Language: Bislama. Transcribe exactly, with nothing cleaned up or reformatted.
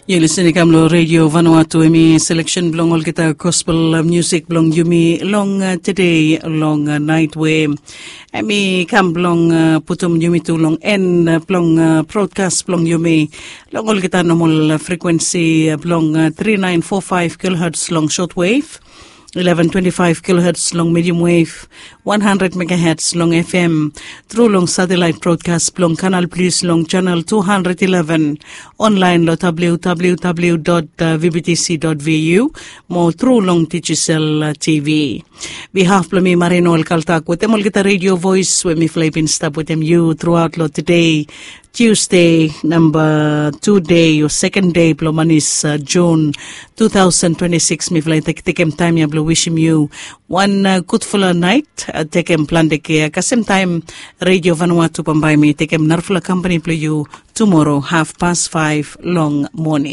Yu lisin i kam long Redio Vanuatu, em i seleksen blong olgeta gospel, uh, musik blong yumi long, uh, tede long, uh, nait we em i kam blong, uh, putum yumi tu long en, uh, blong, uh, brodkas blong yumi long olgeta nomol, uh, frekuensi, uh, blong, uh, three nine four five kilohertz long shortwave, eleven twenty-five kilohertz long medium wave, one hundred megahertz long F M, tru long satellite broadcast blong Canal Plus long channel two hundred eleven, online lo W W W dot V B T C dot V U, mo tru long Digicel, uh, T V. Behalf blong mi, Marie Noel Kaltak, wetem olgeta Radio Voice we mifala i bin stap wetem yu truaot lo tede, Tuesday, namba tu dei o seken dei blong manis, uh, Jun two thousand twenty-six, mifala i tek, tekem taem ya blong wisim yu wan, uh, gudfala nait, uh, tekem plante kea. Kasem taem, Radio Vanuatu bambae mi tekem narafala kampani blong yu tumoro haf pas faef long moning.